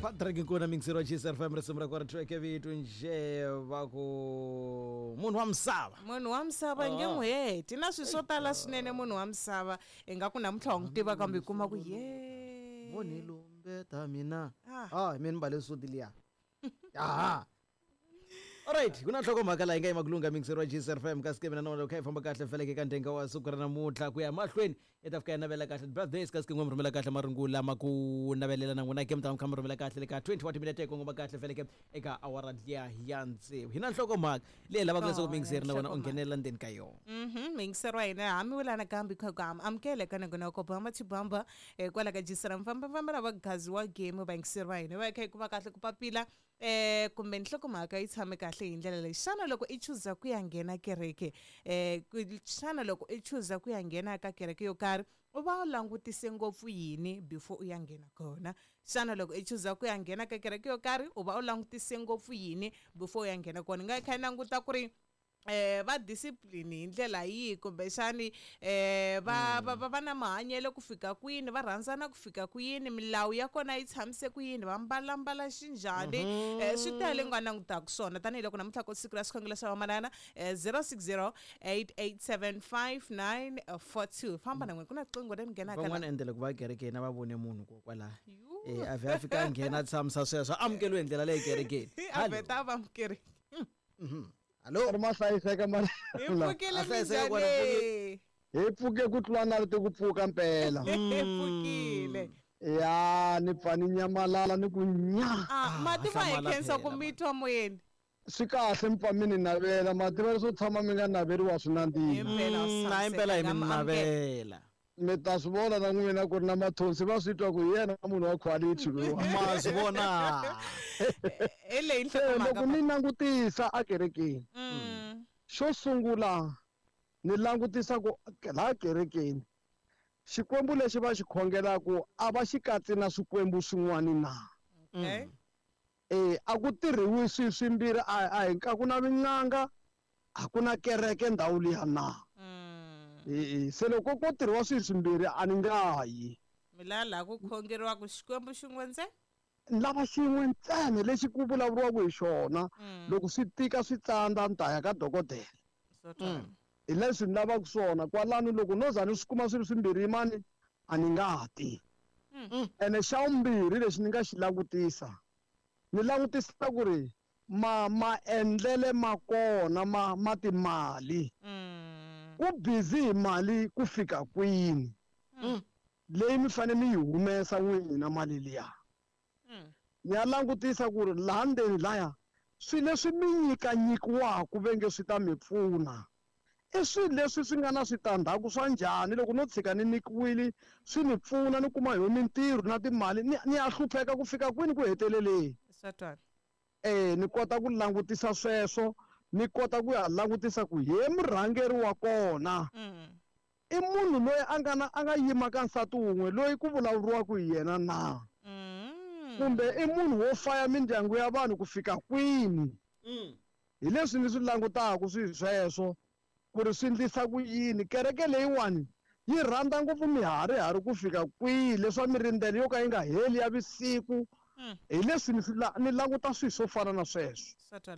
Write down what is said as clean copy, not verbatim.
Patrick Nkuna mixer wa GCR FM risimu ra kona track ya vito nje va ku munhu wa misava. Munhu wa misava nge n'wi heti na swilo swo tala swinene munhu wa misava i nga ku namuntlha wa n'wi tiva kambe i kuma ku ye Voni lumbeta mina. Ah. Ah, mina ni mbale suti liya. Aha. Alright, ku na nhlokomhaka laha yi nga yima ku lungha mixer wa GCR FM kasi ke mina na wena kha yi famba kahle feleke ka ndenga wa siku ra namuntlha ku ya mahlweni i ta fika ya navela kahle birthdays kasi ke n'we mi rhumela kahle marungu lama ku navelela na n'wina ke mi ta mi kha mi rhumela kahle le ka 20 wa timinete yi kongoma kahle feleke eka awara liya ya tsevu hi na nhlokomhaka leyi lavaka leswaku Oh, mixer na wena u nhlokomhaka. nghenelela ndzeni ka yona. Muyingiseri wa hina hamiwela nakambe kha ku amukela eka nongonoko bamba chibamba kwala ka jisira mfambafamba lava gazi wa game vayingiseri va hina va kha yi kuma kahle ku papila kumbe nhlokomhaka yi tshame kahle hi ndlela leyi. Xana loko i chuza ku ya nghena kereke xana loko i chuza ku ya nghena ka kereke yo karhi u va u langutise ngopfu yini before u ya nghena kona? Xana loko i chuza ku ya nghena ka kereke yo karhi u va u langutise ngopfu yini before u ya nghena kona? Hi nga kha hi languta ku ri va discipline hi ndlela yihi kumbexani va va va va na mahanyelo ku fika kwini, va rhandzana ku fika kwini, milawu ya kona yi tshamise ku yini, va mbalambala xinjhani. Swi tele nga langutaka swona tanihiloko namuntlha ku siku ra xikhongelo xa vamanana 0608875942. Famba na n'wina ku na riqingho leri nghenaka la. Van'wana endlela ku va kerekeni a va vone munhu kokwalaho. Yu. A vhe a fika a nghena a tshamisa sweswo a amukeriwe hi ndlela leyi kerekeni. A vheta a va amukerile. Hallo. Ri ma hlayiseka mara. Hi pfukile A hlayiseka kwala minjhani? Hi pfuke ku tlula na rito ku pfuka mpela. Hi pfukile. Ya ni pfa ni nyamalala ni ku nya. Ah, mativa hi hlamala khensa phela, ku mi twa moyeni. Swi kahle mi pfa mi ni navela, mativa leswo tshama mi nga naveriwa swi nandziha. Himpela u Na impela hi mi tshamiseka, amukela. navela. Mi ta swi vona na n'wina ku ri na mathonsi va swi twa ku hi yena munhu wa quality loyiwa. Ma swi vona. Hi leyi Se nhlokomhaka loko ni langutisa ekerekeni, xo sungula ni langutisa ku laha kerekeni xikwembu lexi va xi khongelaku a va xi katsi na swikwembu swin'wana na. Okay. A ku tirhiwi swi swimbirhi, a hi a ku na vin'anga, a ku na kereke ndhawu liya na. Se loko ko tirhiwa swi swimbirhi a ni nga yi. Mi la laha ku khongeriwaka xikwembu xin'we ntsena? Ni lava xin'we ntsena lexi ku vulavuriwaka hi xona. Loko swi tika swi tsandza ni ta ya ka dokodela. Swo twala. Hi leswi ni lavaka swona kwalano loko no za ni swi kuma swi ri swimbirhi mani a ni nga ti. Ene xa vumbirhi lexi ni nga xi langutisa, ni langutisa ku ri maendlele ma kona ma timali. Ku busy hi mali ku fika kwini? Leyi mi fanele mi yi humesa n'wina mali liya. Ni ya langutisa ku ri laha ndzeni laya swilo leswi mi nyikanyikiwaka ve nge swi ta mi pfuna i swilo leswi swi nga na switandzhaku swa njhani loko no tshika ni nyikiwile swi ni pfuna ni kuma hi mintirho na timali ni ya hlupheka ku fika kwini ku heteleleni. Swa twala. Ni kota ku langutisa sweswo, ni kota ku ya langutisa ku he murhangeri wa kona i munhu loyi a nga na a nga yima ka nsati wun'we loyi ku vulavuriwaka hi yena na. Kumbe i munhu wo faya mindyangu ya vanhu ku fika kwini. Hi leswi ni swi langutaka swi sweswo ku ri swi endlisa ku yini. Kereke leyiwani yi rhandza ngopfu miharihari ku fika kwihi leswa mirindzelo yo ka yi nga heli ya vusiku. Hi leswi ni swi ni languta swilo swo fana na sweswo. Swa twala.